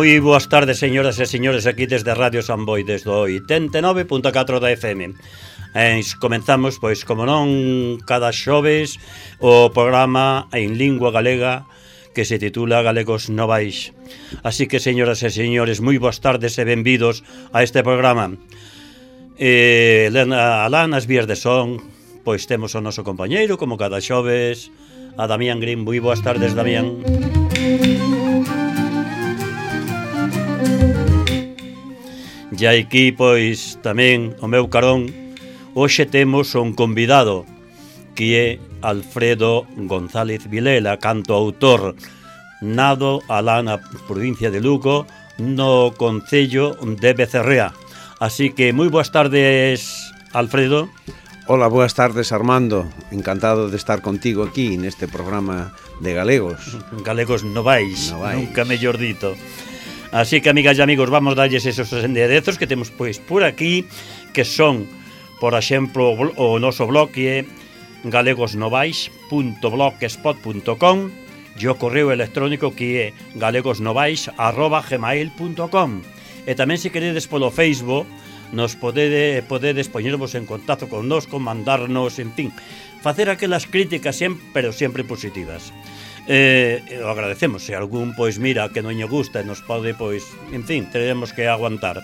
Moi boas tardes, señoras e señores, aquí desde Radio San Boi, desde o 89.4 da FM. Comenzamos, pois, como non, cada xoves o programa en lingua galega que se titula Galegos Novais. Así que, señoras e señores, moi boas tardes e benvidos a este programa. Alá nas vías de son, pois temos o noso compañeiro, como cada xoves, a Damián Green. Moi boas tardes, Damián. E aquí, pois, tamén o meu carón, hoxe temos un convidado que é Alfredo González Vilela, cantautor, nado alá na provincia de Lugo, no concello de Becerrea. Así que moi boas tardes, Alfredo. Hola, boas tardes, Armando. Encantado de estar contigo aquí neste programa de Galegos. Galegos Novais, nunca mellor dito. Así que, amigas e amigos, vamos darlles esos enderezos que temos pois por aquí, que son, por exemplo, o noso blog que é galegosnovais.blogspot.com e o correo electrónico que é galegosnovais@gmail.com. E tamén, se queredes, polo Facebook, nos podedes poñervos en contacto connosco, mandarnos, en fin, facer aquelas críticas pero sempre positivas. O agradecemos. Se algún, pois, mira, que non lle gusta e nos pode, pois, en fin, teremos que aguantar.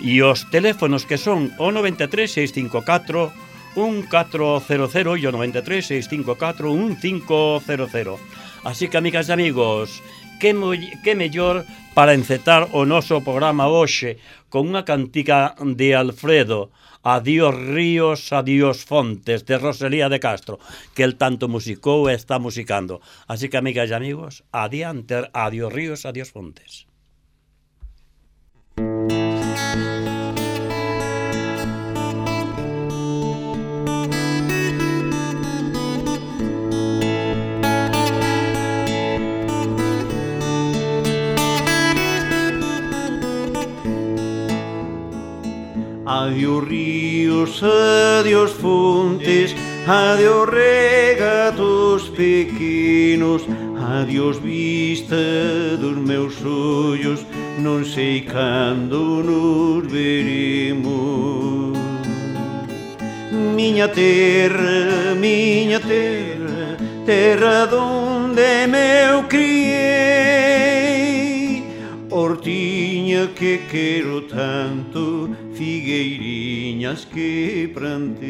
E os teléfonos que son o 93 654 1400 e o 93 654 1500. Así que, amigas e amigos, que mellor para encetar o noso programa hoxe con unha cantiga de Alfredo, Adiós ríos, adiós fontes, de Rosalía de Castro, que el tanto musicou e está musicando. Así que, amigas e amigos, adiante, adiós ríos, adiós fontes. Adiós ríos, adiós fontes, adiós regatos pequenos, adiós vista dos meus ollos, non sei cando nos veremos. Miña terra, terra donde meu criei, hortiña que quero tanto, figueiriñas que plantei,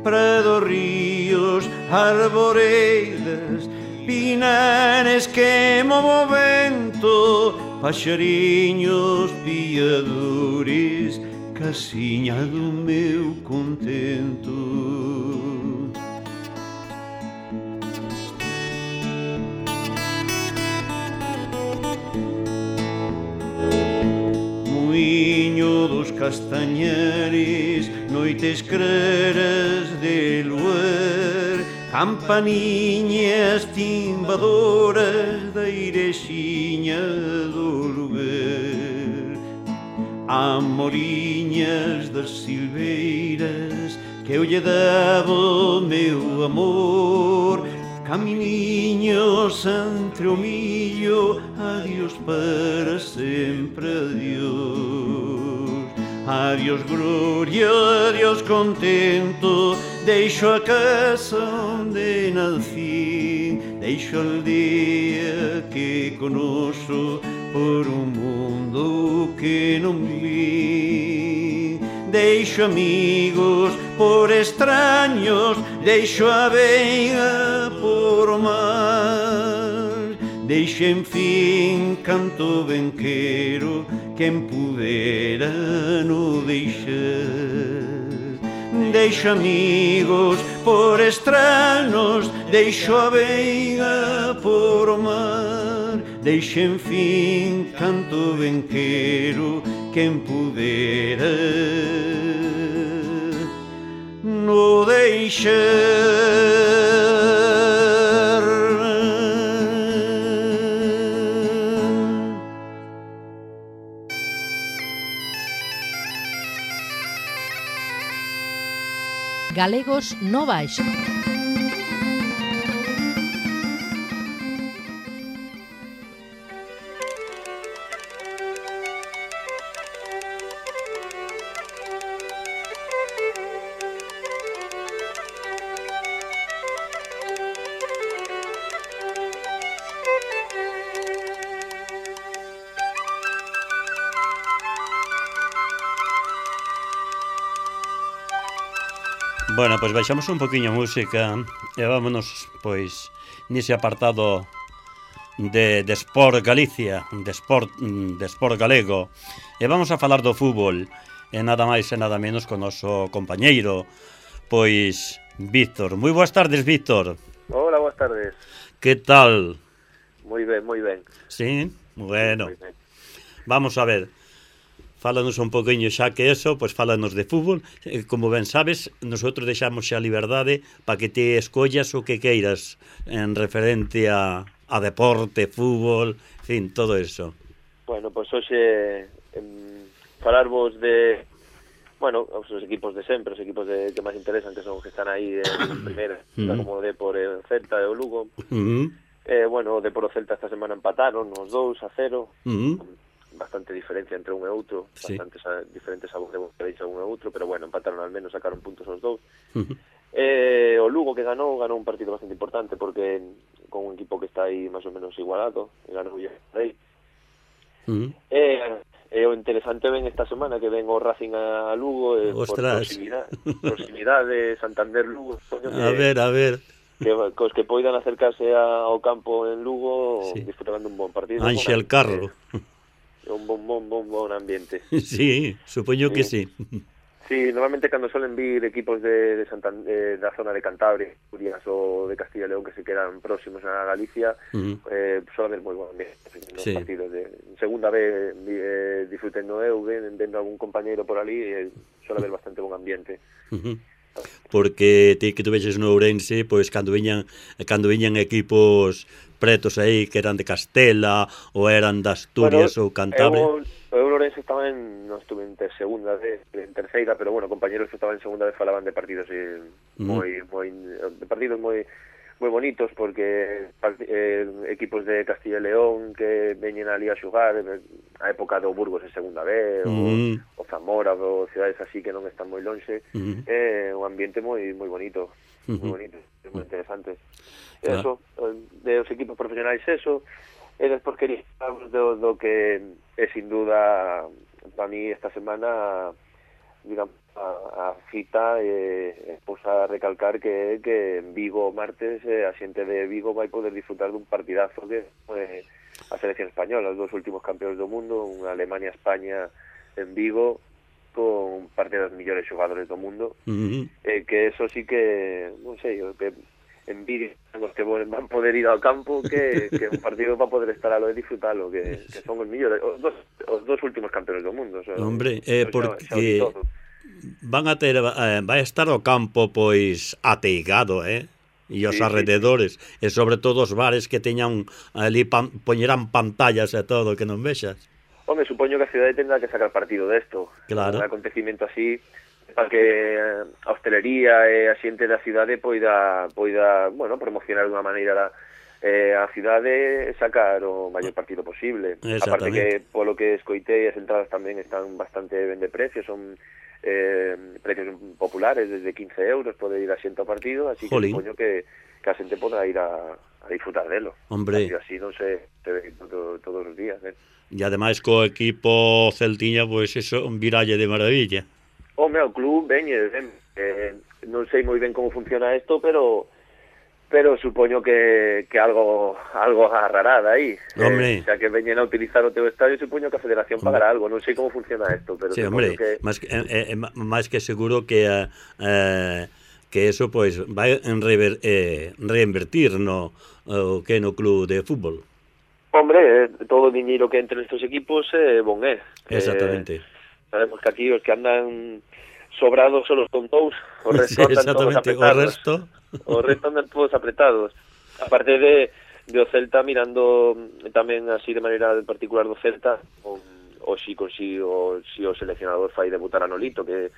prados, ríos, arboredas, pinares que movo vento, paxariños, piadores, casiña do meu contento. Muiño dos castañares, noites claras de luar, campaniñas timbadoras da irexiña do lugar, amoriñas das silveiras que eu lle daba o meu amor, caminiños entre o millo, adiós para sempre, adiós. Adiós gloria, adiós contento, deixo a casa onde nací, deixo a aldea que conoço por un mundo que non vi. Deixo amigos por extraños, deixo a veiga por mar, deixo, en fin, canto ben quero, quen pudera no deixar. Deixo amigos por extraños, deixo a veiga por mar, deixo, en fin, canto ben quero, quen pudera no deixar. Galegos Novais. Bueno, pois baixamos un poquinho a música e vámonos, pois, nese apartado de Sport Galicia, de Sport galego. E vamos a falar do fútbol, e nada máis e nada menos con o noso compañeiro, pois, Víctor. Moi boas tardes, Víctor. Hola, boas tardes. Que tal? Moi ben, moi ben. Sí, bueno. Moi ben. Vamos a ver. Fálanos un poquinho xa que eso, pois fálanos de fútbol. Como ben sabes, nosotros deixamos xa a liberdade para que te escollas o que queiras en referente a deporte, fútbol, en fin, todo eso. Bueno, pois hoxe falarvos de, bueno, os equipos de sempre, os equipos que máis interesan, que son os que están aí en primeira, como o Depor, o Celta e o Lugo. Bueno, o Depor e o Celta esta semana empataron os 2-0. Bastante diferencia entre un e outro, sí. Bastantes diferentes sabores de boca un e outro, pero bueno, empataron al menos, sacaron puntos os dous. O Lugo que ganou un partido bastante importante porque con un equipo que está aí máis ou menos igualado, e ganou o Rei. O interesante ven esta semana que ven o Racing a Lugo, por proximidade Santander Lugo. A ver. Cos que poidan acercarse ao campo en Lugo, sí. Disfrutando un bon partido. Ángel Carro. Un bon ambiente. Sí, supoño que sí. Sí, normalmente cando suelen vir equipos de Santander, da zona de Cantabria, Asturias ou de Castilla y León que se quedan próximos a Galicia, suele haber moi bon ambiente nos partidos. En segunda vez disfrutendo eu, vendo algún compañeiro por ali, suele haber bastante bon ambiente. Porque ti que tu vexes no Ourense, pois cando viñan equipos pretos aí que eran de Castela ou eran de Asturias ou Cantabria. Eu Ourense estaba non estuve en segunda vez, en terceira, pero bueno, compañeros que estaban en segunda vez falaban de partidos moi bonitos, porque equipos de Castilla y León que veñen ali a xogar a época do Burgos en segunda vez, o Zamora, ou cidades así que non están moi lonxe, un ambiente moi bonito, moi interesante. Eso, de os equipos profesionais eso, e despois quería hablar do que é sin duda para mí esta semana, digamos, a cita pois a recalcar que en Vigo martes a xente de Vigo vai poder disfrutar dun partidazo que a selección española, os dos últimos campeóns do mundo, unha Alemania-España en Vigo, con parte dos millores xogadores do mundo, que eso sí que, non sei, que envidia os que van poder ir ao campo que un partido para poder estar a lo de disfrutalo, que son os millores, os dos últimos campeóns do mundo. Hombre, porque van a ter, vai estar o campo pois ateigado, e os arrededores, e sobre todo os bares que teñan ali, poñerán pantallas e todo, que non vexas. Home, supoño que a cidade tendrá que sacar partido desto. Claro. Un acontecimiento así, para que a hostelería e a xente da cidade poida, bueno, promocionar de unha maneira a cidade e sacar o maior partido posible. Aparte que, polo que escoitei, as entradas tamén están bastante ben de precio, son precios populares, desde 15 euros pode ir a xente ao partido, así que supoño que a xente poda ir a disfrutar delo. Hombre. Así non se ve todos os días, E ademais co equipo celtiña, pois eso, un viralle de maravilla. O meu club veñe, non sei moi ben como funciona isto, pero supoño que algo agarrará aí. Xa que veñen a utilizar o teu estadio, supoño que a federación pagará algo. Non sei como funciona isto, pero sí, hombre, que máis que seguro que eso pois vai reinvertir no club de fútbol. Hombre, todo o diñeiro que entre nestes equipos bon é. Exactamente. Sabemos que aquí os que andan sobrados son os tontos, o resto andan todos apretados. O resto andan todos apretados. Aparte de o Celta, mirando tamén así de maneira particular do Celta, o si o seleccionador fai debutar a Nolito, que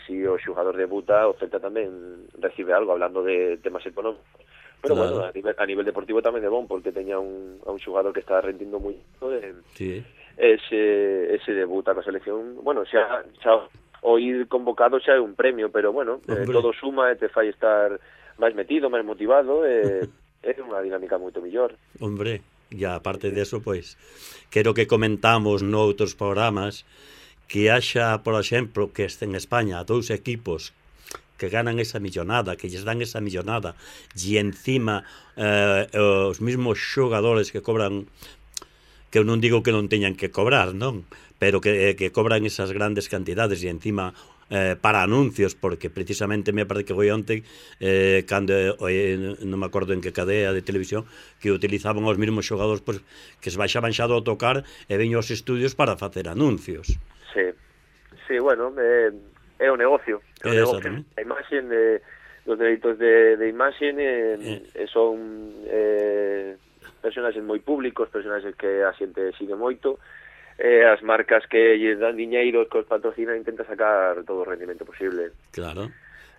si o xogador debuta, o Celta tamén recibe algo, hablando de temas económicos. Pero claro, bueno, a nivel deportivo tamén é bon, porque teña un xogador que está rendindo moi ese debuta coa selección. Bueno, xa o ir convocado xa é un premio, pero bueno, todo suma e te fai estar máis metido, máis motivado, é unha dinámica moito mellor. Hombre, e aparte deso, pois, quero que comentamos noutros programas que haxa, por exemplo, que este en España dous equipos que ganan esa millonada, que lles dan esa millonada, e encima os mismos xogadores que cobran, que eu non digo que non teñan que cobrar, non? Pero que cobran esas grandes cantidades e encima para anuncios, porque precisamente me parece que foi onte cando non me acordo en que cadea de televisión, que utilizaban os mesmos xogadores, pues, que se baixaban xa do tocar e veño aos estudios para facer anuncios. Sí, bueno, é o negocio, a imaxe dos dereitos de imaxe son personaxes moi públicos, personaxes que a xente sigue moito, as marcas que lle dan diñeiro, que os patrocinan, intenta sacar todo o rendimento posible. Claro.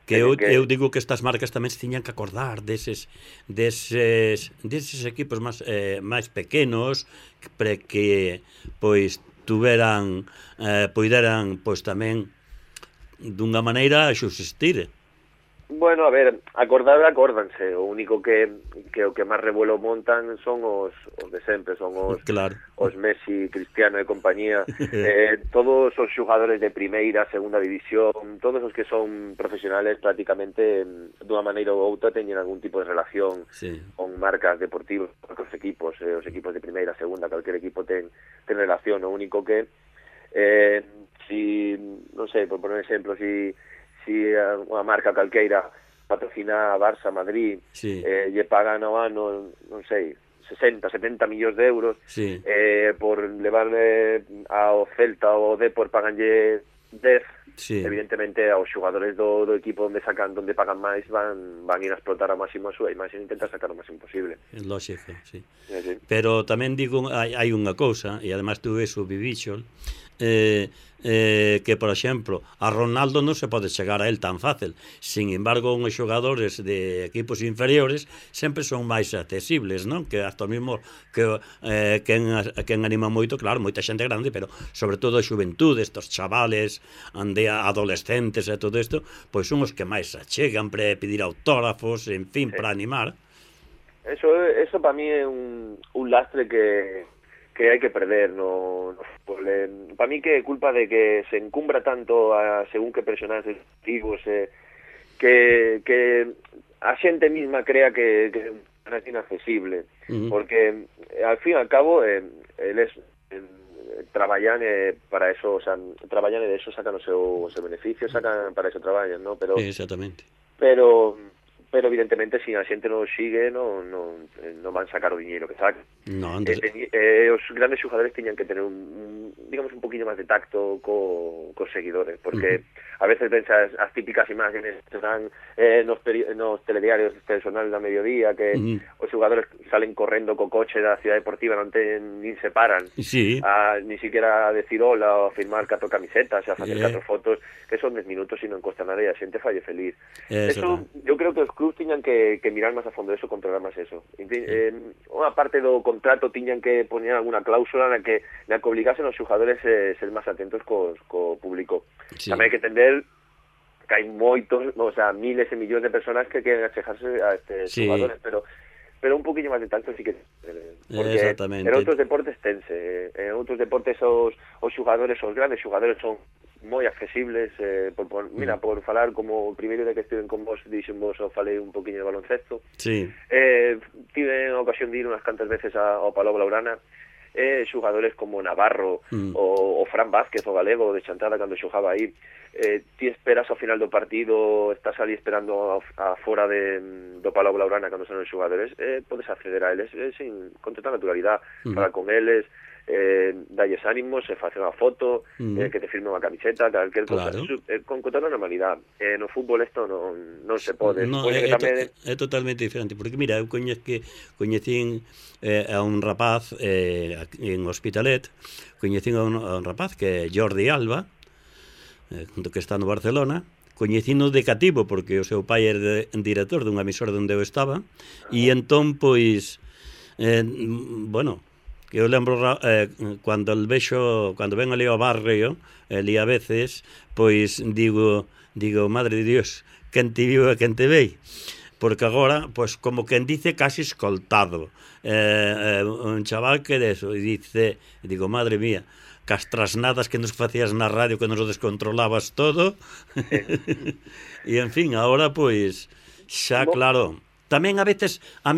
Que eu digo que estas marcas tamén se tiñan que acordar deses equipos máis pequenos, para que pois tuveran poideran pois tamén dunha maneira subsistir. Bueno, a ver, acórdanse. O único que o que máis revuelo montan son os de sempre, son os Messi, Cristiano e compañía. Todos os xogadores de primeira, segunda división, todos os que son profesionales prácticamente dunha maneira ou outra teñen algún tipo de relación con marcas deportivas, con os equipos de primeira, segunda, calquer equipo ten relación. O único que si, non sei, por poner exemplo, si unha marca calqueira patrocina a Barça, Madrid, lle pagan ao ano, non sei, 60, 70 millóns de euros, por levarle ao Celta ou ao Depor paganlle 10, evidentemente aos xogadores do equipo onde pagan máis van ir a explotar ao máximo a súa imaxe e intentar sacar o máximo posible. Lógico, sí. Pero tamén digo, hai unha cousa, e además tú eso vivíxo, que, por exemplo, a Ronaldo non se pode chegar a él tan fácil. Sin embargo, uns xogadores de equipos inferiores sempre son máis accesibles, non? Que hasta mesmo que quen anima moito, claro, moita xente grande, pero sobre todo a xuventude, estos chavales, adolescentes e todo isto, pois son os que máis se achegan para pedir autógrafos, en fin, para animar. Eso para mí é un lastre que hai que perder no fútbol. Para mí que é culpa de que se encumbra tanto a según que personaxes activos, que a xente misma crea que é inaccesible, porque al fin e al cabo eles traballan para eso, o sea, traballan e de eso sacan o seu beneficio, sacan para eso traballan, ¿no? Pero exactamente. Pero evidentemente se a xente non sigue non van sacar o diñeiro que sacan. Os grandes xogadores tiñan que tener digamos un poquinho máis de tacto cos seguidores, porque a veces ven as típicas imágenes que dan nos telediarios este sonal da mediodía, que os xogadores salen correndo co coche da Ciudad Deportiva, nin se paran ni siquiera a decir hola ou a firmar 4 camisetas, a facer 4 fotos, que son 10 minutos e non costa nada e a xente falle feliz. Eso, eu creo que os clubs tiñan que mirar máis a fondo eso, controlar máis eso. Unha parte do contrato tiñan que poñer alguna cláusula na que obligasen os xogadores ser máis atentos co público. Tamén hai que entender que hai moitos, o sea, miles e millóns de personas que queren achegarse a estes xogadores, pero un poquinho máis de tacto sí que porque en outros deportes tense, en outros deportes os xogadores, os grandes xogadores son moi accesibles, mira, por falar como o primeiro de que estiven con vos, dixen vos, falei un poquinho de baloncesto, tive a ocasión de ir unhas cantas veces ao Palau Blaugrana, xogadores como Navarro o Fran Vázquez, o galego de Chantada, cando xogaba aí, ti esperas ao final do partido, estás ali esperando fora do Palau Blaugrana cando son os xogadores, podes acceder a eles con total naturalidade, falar con eles, dalles ánimos, facer unha foto, que te firme unha camiseta, calquer cosa, con toda normalidade. No fútbol isto non se pode. É totalmente diferente, porque mira, eu coñecín a un rapaz en Hospitalet, coñecín a un rapaz que é Jordi Alba, que está no Barcelona, coñecino de cativo, porque o seu pai era director dunha emisora onde eu estaba, e entón, pois, bueno, que eu lembro cando ven ali ao barrio, ali a veces, pois digo, madre de Dios, quen te viu e quen te vei, porque agora, pois como quen dice, casi escoltado, un chaval que de eso, e digo, madre mía, cas trasnadas que nos facías na radio que nos o descontrolabas todo. E, en fin, ahora, pois, xa, claro, tamén a veces o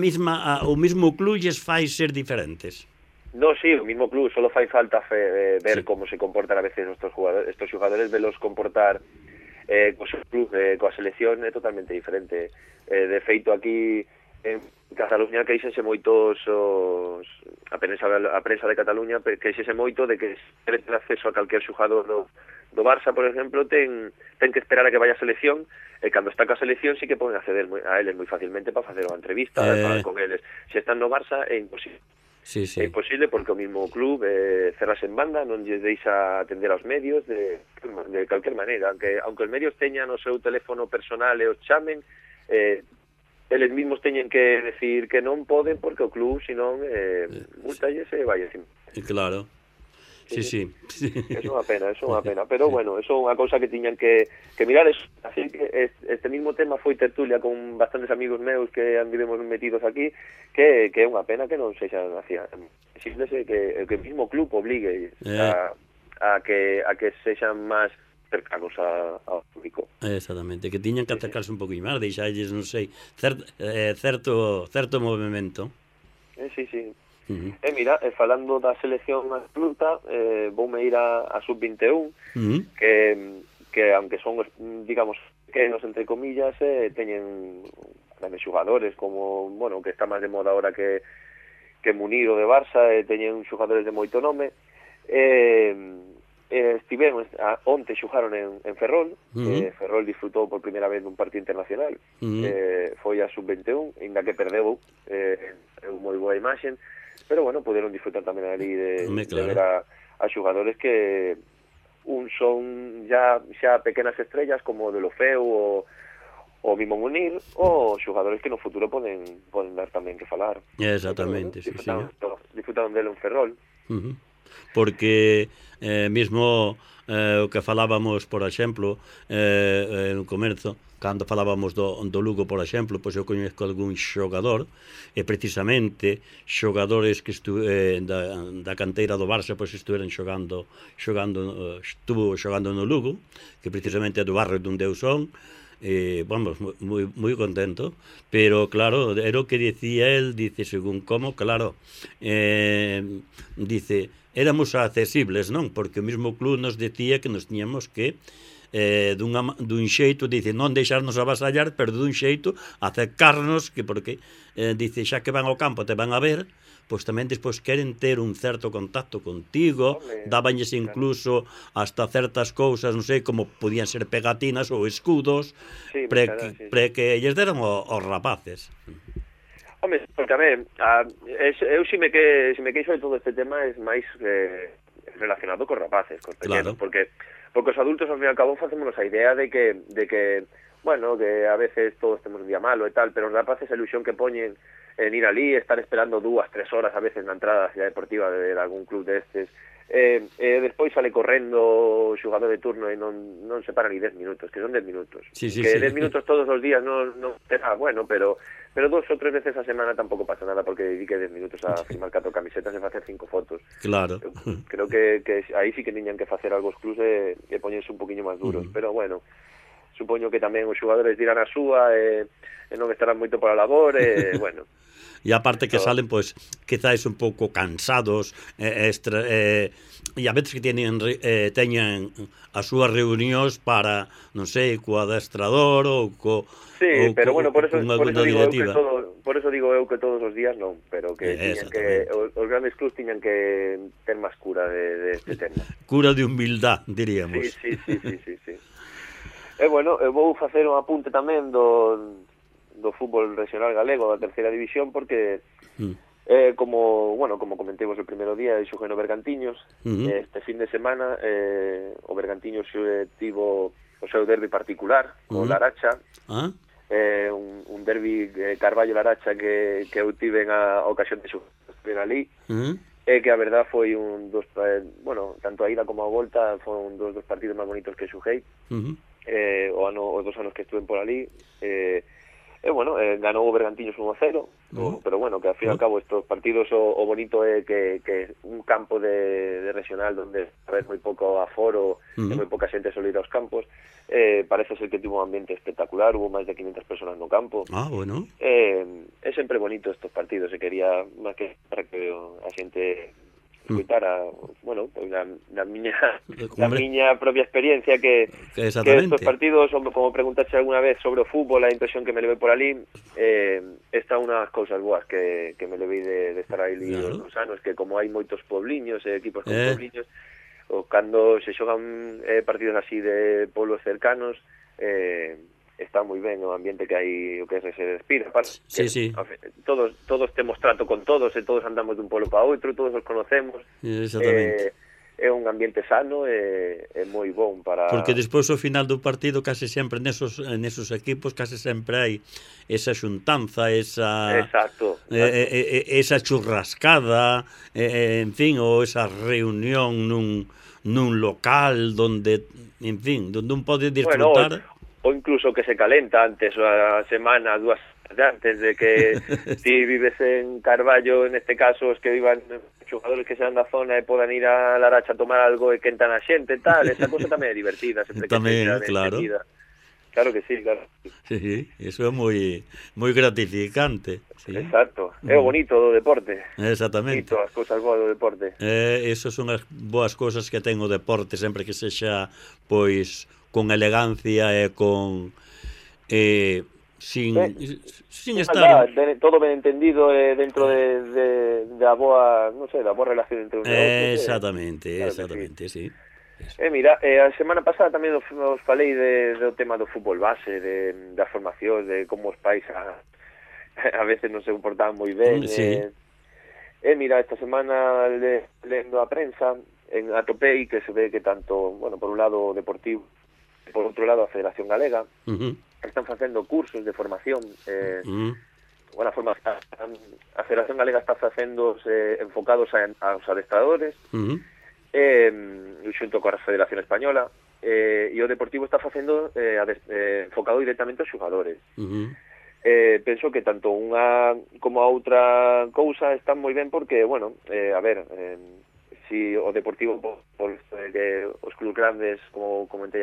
mismo club lles fai ser diferentes. No, sí, o mismo club, solo fai falta ver como se comportan a veces estos jugadores, velos comportar co seu club, coa selección é totalmente diferente. De feito, aquí en Cataluña queixense moitos a prensa de Cataluña queixense moito de que se quere ter acceso a calquer xogador do Barça, por exemplo, ten que esperar a que vaya a selección, e cando está ca selección sí que poden acceder a eles moi facilmente para facer unha entrevista, falar con eles. Se están no Barça é imposible. Sí. É imposible porque o mismo club cerrase en banda, non lle deixa atender aos medios de calquer maneira, aunque os medios teñan o seu teléfono personal e os chamen, eles mesmos teñen que decir que non poden porque o club, senón, multalles e vai encima. Claro. Sí. É unha pena, pero bueno, eso é unha cousa que tiñan que mirar. Así que este mismo tema foi tertulia con bastantes amigos meus que andivemos metidos aquí, que é unha pena que non sexan así. Exígese que o mismo club obligue a que sexan máis cercanos ao público. Exactamente, que tiñan que acercarse un poquinho máis, deixalles, non sei, certo movimento. Sí. Mira, falando da selección absoluta, voume ir a sub-21, que aunque son, digamos, pequenos, entre comillas, teñen grandes xugadores, como, bueno, que está máis de moda ahora que Munir o de Barça, teñen xugadores de moito nome. Estiveron, onte xugaron en Ferrol, Ferrol disfrutou por primeira vez dun partido internacional, foi a sub-21, ainda que perdeu, moi boa imaxe, pero bueno, puderon disfrutar tamén ali de ver a xugadores que son xa pequenas estrellas como de Lofeu o Mimo Munir, ou xugadores que no futuro poden dar tamén que falar. Exactamente, sí. Disfrutaron dele en Ferrol. Porque mesmo o que falábamos, por exemplo, no comerzo, cando falábamos do Lugo, por exemplo, pois eu coñezco algún xogador, e precisamente xogadores que da canteira do Barça, pois estuveron xogando no Lugo, que precisamente é do barrio donde eu son, vamos, moi contento, pero claro, era o que dicía el, dice, según como, claro, dice, éramos accesibles, non? Porque o mesmo club nos decía que nos tiñamos que dun xeito, dice, non deixarnos avasallar, pero dun xeito acercarnos, que porque dice, xa que van ao campo te van a ver, pois tamén despois queren ter un certo contacto contigo, dábanlles incluso hasta certas cousas, non sei, como podían ser pegatinas ou escudos, pre que lles deran aos rapaces. Home, porque a ver, eu se me queixo de todo este tema é máis relacionado cos rapaces, cos pequenos, porque os adultos ao fin e ao cabo facémonos a idea de que bueno, que a veces todos temos un día malo e tal, pero os rapaces a ilusión que poñen en ir ali, estar esperando 2-3 horas a veces na entrada da cidade deportiva de algún club destes, despois sale correndo o xogador de turno e non se para ni 10 minutos, que son 10 minutos. Sí, 10 minutos todos os días non será bueno, pero 2 ou 3 veces a semana tampouco pasa nada porque dedique 10 minutos a firmar 4 camisetas e facer 5 fotos. Claro. Creo que aí sí que tiñan que facer algo os clubs e poñerse un poquinho máis duros, pero bueno, supoño que tamén os xogadores dirán a súa e non estarán moito pola labor e bueno. E aparte que salen, pois, quizáis un pouco cansados, e a veces que teñen as súas reunións para, non sei, co adestrador ou sí, pero bueno, por eso digo eu que todos os días non, pero que os grandes clubs tiñan que ter máis cura de este tema. Cura de humildad, diríamos. Sí. E bueno, eu vou facer un apunte tamén do fútbol regional galego da terceira división, porque como comentemos o primeiro día, xoguei no Bergantiños. Este fin de semana o Bergantiños tivo o seu derbi particular con Laracha, un derbi Carballo-Laracha que eu tive a ocasión de xogar ali, e que a verdad foi tanto a ida como a volta foron dos partidos máis bonitos que xoguei, os 2 anos que estuve por ali. bueno, ganou o Bergantiños 1-0, pero bueno, que ao fin e ao cabo estos partidos o bonito é que un campo de regional donde haber moi pouco aforo e moi pouca xente solo ir aos campos, parece ser que tivo un ambiente espectacular, hubo máis de 500 personas no campo. Bueno. É sempre bonito estos partidos, e quería máis que para que a xente escuitara, bueno, pues na miña propia experiencia que estos partidos, como preguntaste alguna vez sobre o fútbol, a impresión que me levei por ali, esta unha das cousas boas que me levei de estar aí os anos, que como hai moitos pobliños e equipos con pobliños, o cando se xogan partidos así de pueblos cercanos, está moi ben o ambiente que hai, o que se respira, sí. Todos temos trato con todos, e todos andamos dun pueblo para outro, todos os conocemos. Exactamente. É un ambiente sano e moi bon para... Porque despois ao final do partido case sempre nesos equipos case sempre hai esa xuntanza, esa... Exacto. Esa churrascada, en fin, ou esa reunión nun local donde, en fin, donde un pode disfrutar... O incluso que se calenta antes, a semana, 2 semanas antes de que si vives en Carballo, en este caso, os que vivan xogadores que sean da zona e podan ir a Laracha a tomar algo e quentan a xente e tal, esa cosa tamén é divertida, sempre que tamén, sexa claro. entendida. Claro que sí, claro. Sí, eso é moi gratificante. Sí. Exacto, é o bonito do deporte. Exactamente. Bonito, as cousas boas do deporte. Eso son as boas cousas que ten o deporte, sempre que sexa, pois, con elegancia e con... sin estar... todo ben entendido dentro da boa, non sei, da boa relación entre os negocios. Exactamente, sí. Mira, a semana pasada tamén os falei do tema do fútbol base, da formación, de como os pais a veces non se comportaban moi ben. Sí. Mira, esta semana lendo a prensa, atopei que se ve que tanto, bueno, por un lado o Deportivo, por outro lado a Federación Galega, están facendo cursos de formación. Bueno, a Federación Galega está facendo enfocados aos adestradores, xunto coa Federación Española, e o Deportivo está facendo enfocado directamente aos xogadores. Penso que tanto unha como a outra cousa están moi ben porque, bueno, a ver, si o Deportivo por que os clubes grandes, como comentei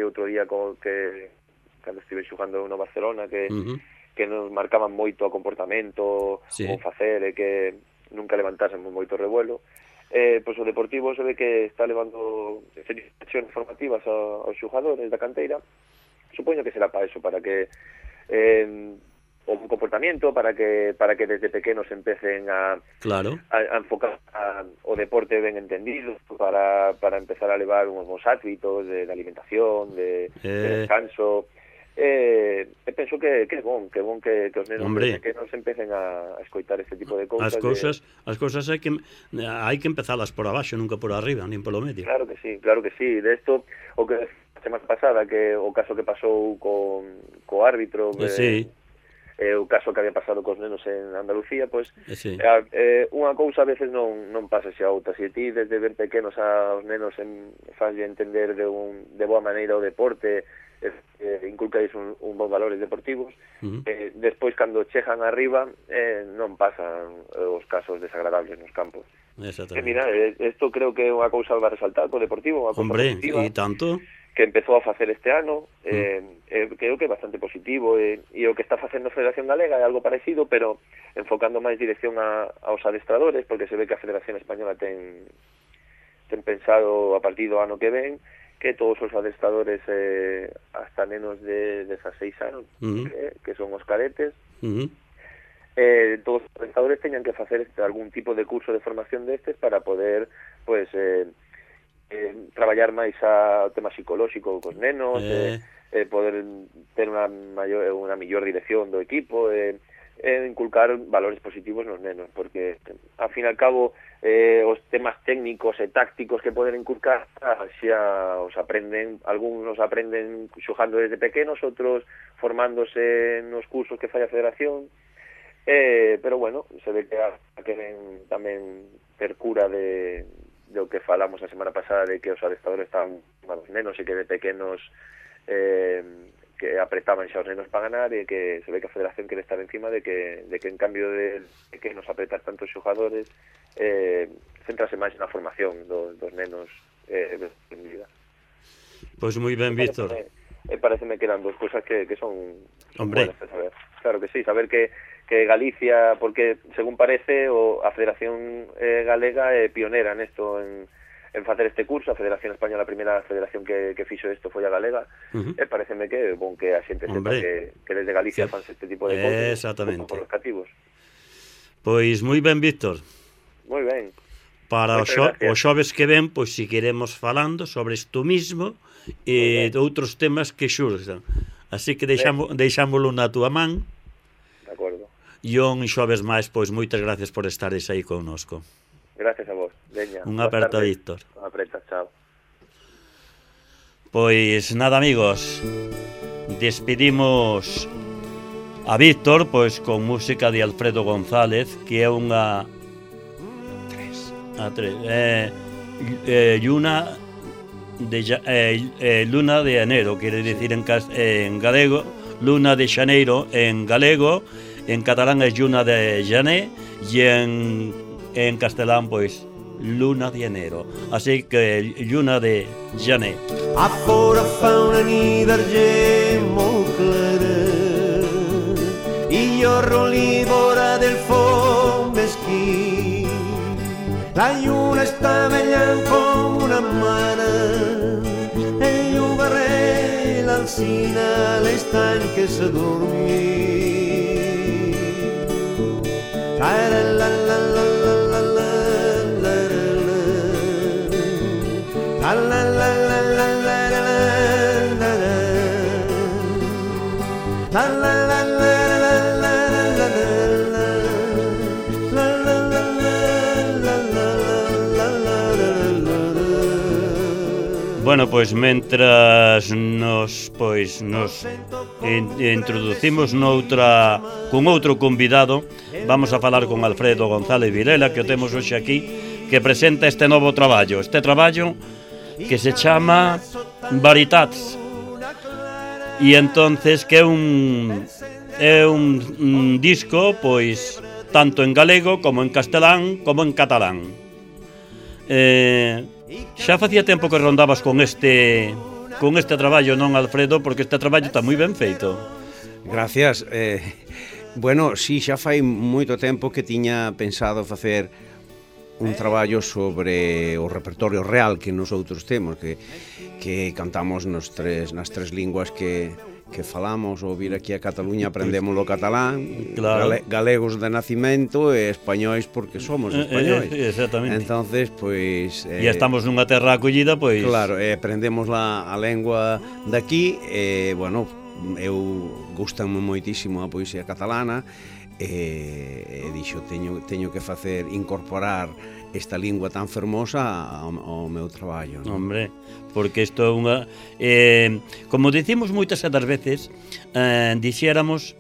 outro día que cando estive xogando no Barcelona, que nos marcaban moito o comportamento, o facer, e que nunca levantásemos moito revuelo. Pois o Deportivo se ve que está levando seccións formativas aos xogadores da canteira. Supoño que será para eso, para que o comportamiento, para que desde pequenos empecen a enfocar o deporte ben entendido, para empezar a levar uns bons hábitos de alimentación, de descanso. Penso que é bon que os nenos pequenos empecen a escoitar este tipo de cousas. As cousas hai que empezalas por abaixo, nunca por arriba, nin polo medio. Claro que sí. De esto, o que a semana pasada, que o caso que pasou co árbitro, o caso que había pasado cos nenos en Andalucía, pois unha cousa a veces non pasa xa outra. Se ti desde ben pequenos aos nenos faslle entender de boa maneira o deporte, inculcais un bons valores deportivos, despois cando chegan arriba non pasan os casos desagradables nos campos. Mira, isto creo que é unha cousa a resaltar co Deportivo, unha cousa positiva. E tanto que empezou a facer este ano, creo que é bastante positivo, e o que está facendo a Federación Galega é algo parecido, pero enfocando máis dirección aos adestradores, porque se ve que a Federación Española ten pensado a partir do ano que ven que todos os adestradores hasta nenos de 16 anos, que son os cadetes, todos os adestradores teñan que facer algún tipo de curso de formación destes para poder, pues, traballar máis o tema psicolóxico cos nenos, poder ter unha mellor dirección do equipo, inculcar valores positivos nos nenos, porque ao fin e al cabo os temas técnicos e tácticos que poden inculcar xa os aprenden, algúns aprenden xogando desde pequenos, outros formándose nos cursos que fai a Federación, pero bueno, se ve que queren tamén ter cura do que falamos a semana pasada, de que os adestradores estaban malos nenos e que de pequenos que apretaban xa os nenos para ganar e que se ve que a Federación quere estar encima de que en cambio de que nos apretar tantos xogadores centrase máis na formación dos nenos en vida. Pois moi ben, Víctor. Pareceme que eran dos cousas que son buenas de saber. Claro que sí, saber que Galicia, porque según parece a Federación Galega é pionera nesto en facer este curso. A Federación Española, a primeira federación que fixo isto foi a galega, e pareceme que é bon que a xente sepa que desde Galicia fanse este tipo de cousas. Exactamente. Por os cativos. Pois moi ben, Víctor. Moi ben. Para os xoves que ven, pois seguiremos falando sobre isto mismo e outros temas que xurxan. Así que deixámoslo na túa man. De acordo. E un xoves máis, pois moitas gracias por estares aí connosco. Gracias a vos. Veña. Unha aperta, Víctor. Unha aperta, chao. Pois nada, amigos, despedimos a Víctor pois con música de Alfredo González, que é unha Luna de Enero, quere dicir en galego, Luna de Xaneiro en galego, en catalán é Lluna de Jané e en castelán pois Luna de Enero, así que Lluna de Jané. A fora fa una nit d'argent molt clara i jo roli vora del foc mesquí. La lluna està ballant com una mare, el llogarrer, l'alcina, l'estany que s'adormí. Bueno, pois mentras nos introducimos con outro convidado, vamos a falar con Alfredo González Vilela, que o temos hoxe aquí, que presenta este novo traballo. Este traballo que se chama Veritats. E entonces que é un disco, pois, tanto en galego como en castelán como en catalán. Xa facía tempo que rondabas con este traballo, non, Alfredo? Porque este traballo está moi ben feito. Gracias. Bueno, sí, xa fai moito tempo que tiña pensado facer un traballo sobre o repertorio real que nosotros temos, que cantamos nas tres linguas que falamos. Ou vir aquí a Cataluña aprendemos o catalán, claro. Galegos de nacimento e españois porque somos españois. Exactamente. Entonces, pois... E estamos nunha terra acollida, pois... Claro, aprendemos a lengua daqui, bueno, eu gustame moitísimo a poesía catalana, e dixo, teño que incorporar esta lingua tan fermosa ao meu traballo, non? Hombre, porque isto é unha... como dicimos moitas das veces, dixéramos,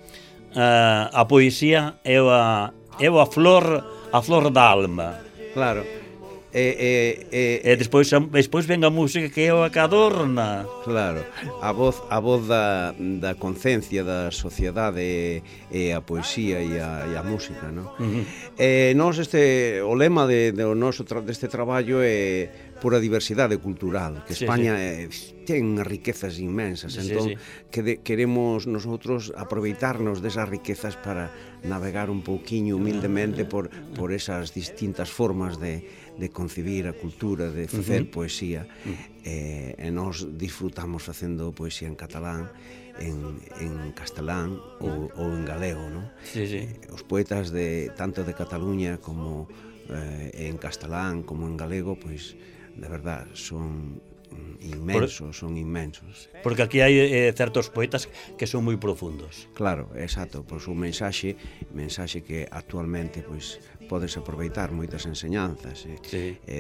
a poesía é a flor da alma. Claro. E despois ven a música que é o que adorna. Claro, a voz da concencia da sociedade e a poesía e a música, non? Nos o lema deste traballo é pura diversidade cultural, que España ten riquezas inmensas, entón queremos nosotros aproveitarnos desas riquezas para navegar un pouquiño humildemente por esas distintas formas de concebir a cultura, de facer poesía, e nós disfrutamos facendo poesía en catalán, en castelán ou en galego, non? Os poetas tanto de Cataluña como en castelán como en galego, pois, de verdad, son inmensos. Porque aquí hai certos poetas que son moi profundos. Claro, exacto, pois un mensaxe que actualmente pois podes aproveitar moitas enseñanzas,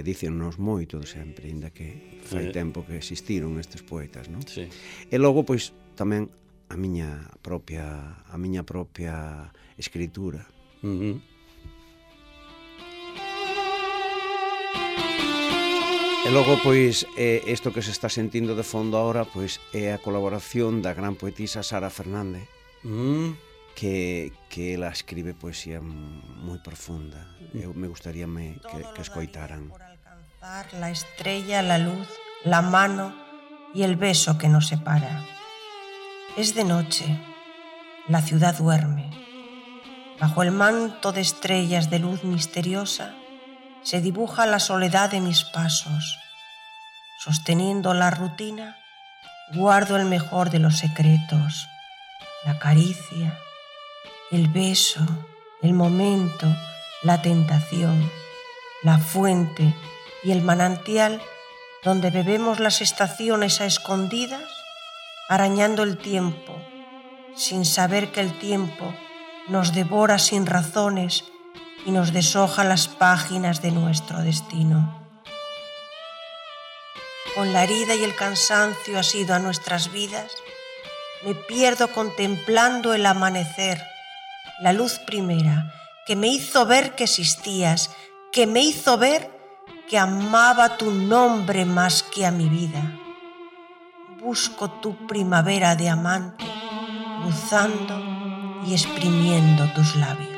dícennos moito sempre, inda que fai tempo que existiron estes poetas, non? E logo pois tamén a miña propia escritura. E logo, pois, isto que se está sentindo de fondo ahora, pois, é a colaboración da gran poetisa Sara Fernández, que ela escribe poesía moi profunda. Eu me gustaría que escoitaran. Por alcanzar la estrella, la luz, la mano y el beso que nos separa. Es de noche, la ciudad duerme. Bajo el manto de estrellas de luz misteriosa se dibuja la soledad de mis pasos. Sosteniendo la rutina, guardo el mejor de los secretos, la caricia, el beso, el momento, la tentación, la fuente y el manantial donde bebemos las estaciones a escondidas, arañando el tiempo, sin saber que el tiempo nos devora sin razones y nos deshoja las páginas de nuestro destino. Con la herida y el cansancio asido a nuestras vidas, me pierdo contemplando el amanecer, la luz primera que me hizo ver que existías, que me hizo ver que amaba tu nombre más que a mi vida. Busco tu primavera de amante, cruzando y exprimiendo tus labios.